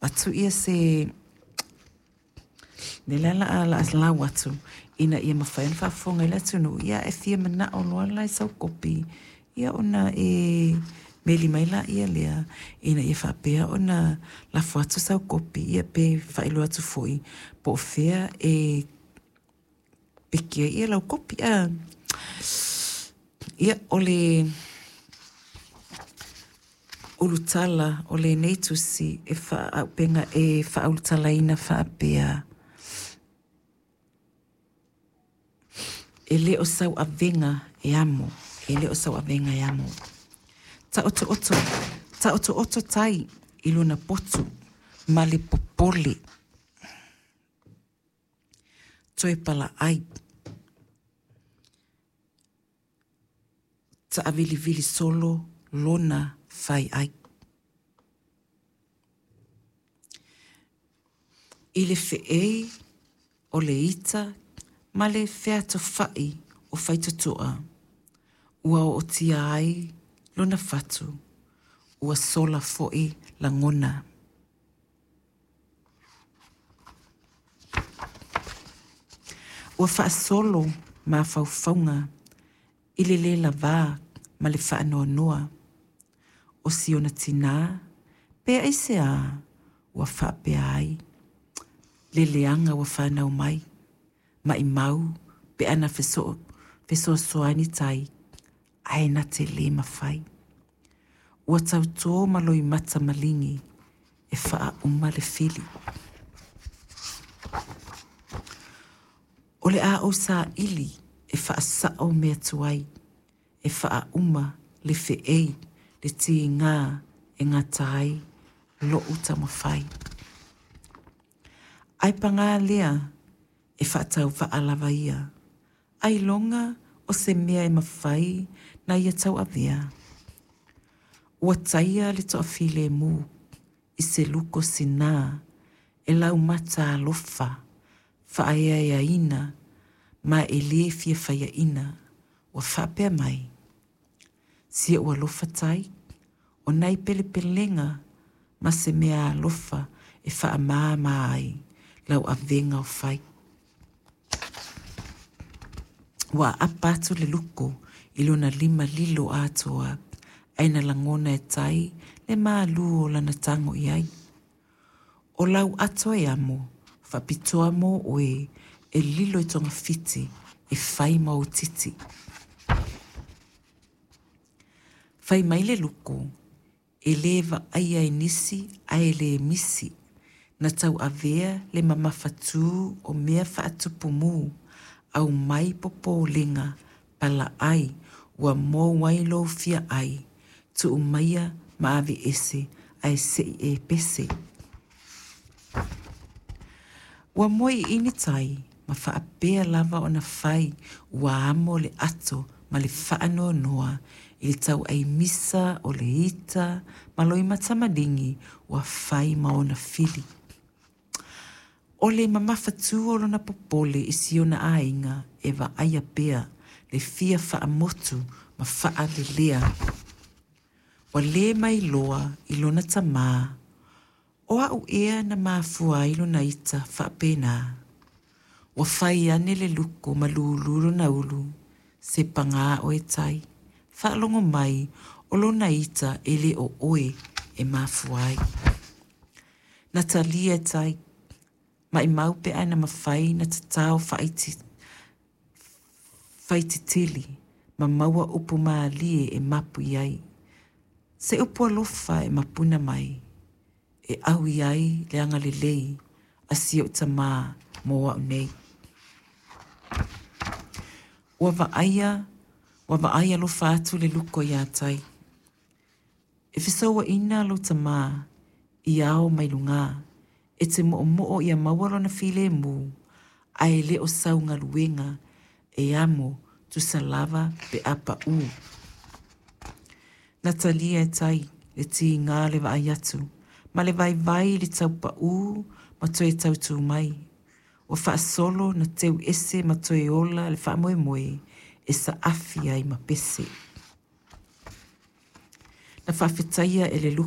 Avatu ia se mea lea la a lau atu ina ia mafai ona faafofoga ai le atunuu, ia e fia manao loa la i sau kopi, ia ona e meli mai laia lea ina ia faapea ona lafo atu sau kopi, ia pe faailoa atu foi po o fea e peki ai lau kopi. Ia, o le ulutala o lenei tusi e faaauupega e faaulutalaina faapea, E le o sau avega e amo, e le o sau avega e amo. Taotooto, taotooto tai i lona potu ma le popole. Toe palaai. Taavilivili solo lona fai ai. I le feei o le ita ma le featofai o faitotoa, ua ootia ai lona fatu, ua sola foi lagona. Ua faasolo mafaufauga i le le lavā ma le faanoanoa o si ona tinā, pe aisea ua faapea ai le leaga ua fanau mai, maimau pe ana fesoasoani tai, ae na te le mafai. Ua tautō ma loimata maligi e faauma le fili. O le a ou saili e faasao mea tuai, e faauma le feei le tiga e gata ai lo'u taumafai. Ae paga lea, e faatauvaa lava ia, ailoga o se mea e mafai na ia tauavea. Ua taia le toafilemu i se luko sina e laumata alofa faaeaeaina ma e le fia faiaina, ua faapea mai, Si ou alofa tai, o nai pelepelega ma se meaalofa e faamāmā ai lau avega o fai. Ua aapa atu le luko i lona lima lilo atoa, ae na lagona e Tai le malū o lana tago i ai. O lau ato e amo, faapitoa mō oe e lilo i togafiti e fai ma ou titi. Fai mai le luko, e le vaaia e nisi ae le misi, na tauavea le mamafatū o mea faatupu mū, aumai popolega, palaai, ua mou ai lou fia ai, tuu maia ma aveese ae se i e pese. Ua moe iini tai ma faapea lava ona fai ua amo le ato ma le faanoanoa i le tauai misa o le ita ma loimata maligi ua fai ma ona fili. O le mamafatū o lona popole i si ona aiga e vaaia pea le fia faamotu ma faalelea. Ua le mailoa i lona tamā o au ea na mafua ai lona ita faapena. Ua fai ane le luko ma lūlū lona ulu, se pagā oe Tai, faalogo mai o lona ita e le o oe e mafua ai. Na talia e Tai, maimau pe ana mafai na tatao faititili ma maua upu mālie e mapu i ai. Se upu alofa e mapuna mai, e ʻau ai le agalelei a si oʻu tamā mō au nei. Ua vaaia, ua vaai alofa atu le luko iā Tai. E fesouaina lou tamā i ao mai lugā, e te moomoo ia maua lona filemu, ae le o sau galuega e amo tusa lava pe a paʻū. Na talia e Tai le tiga o le vaai atu ma le vaivai i le tau paʻū ma toe tautū mai. Ua faasolo na teu ese ma toe ola le faamoemoe e saafi ai ma pese. Na faafetaia e le luko.